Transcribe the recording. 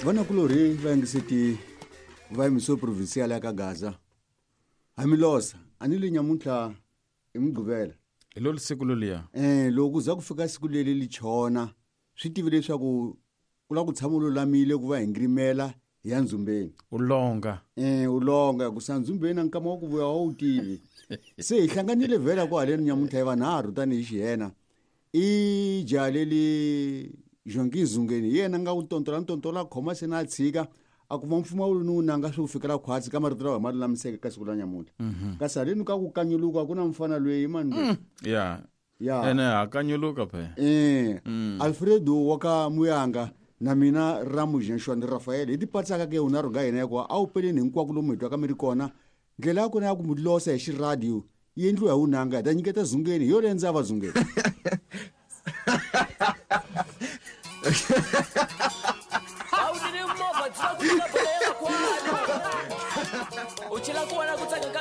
Vanakulorhi va yingiseti va yimiso provincial ya ka Gaza. Hamilosa a ni le nyamuntlha i Mugqivela. Hi lolu siku loluya. Loko ku za ku fika siku leri li chona swi tive leswaku ku lava ku tshama u lulamile ku va hi ngirimela hi ya ndzhumbeni. U longa. U longa ku sa ndzhumbeni a nkama wa ku vuya wa wu tivi. Se hi hlanganile vhela ku haleni nyamuntlha hi vanharhu tanihi xihena. I jaha leli Jonki Nzungeni hi yena nga wu tontola ntontola khoma se na tshika a kuma mpfumawulo ni wu nanga swi ku fikela khwatsi ka marito lawa hi ma lulamiseke ka siku la nyamuntlha. Kasi haleni ka ku kanyuluka ku na mfana loyi mani loyi. Ya. Ya. Ene ha kanyuluka phela. Alfredo wa ka Muyanga na mina Ramu Jenshwani Rafael hi tipatsaka ke unharhu nga hina hikuva a wu peleni hinkwako lomu hi twaka mi ri kona. Ndlela ya kona ya ku mi losa hi xiradiyo yi endliwa hi wunanga hi ta nyiketa Zungeni hi yo leyi ndza va Zungeni. A wu nini movha byi va ku nyika bolo ya makwalo u chela ku vona ku tsaka ka.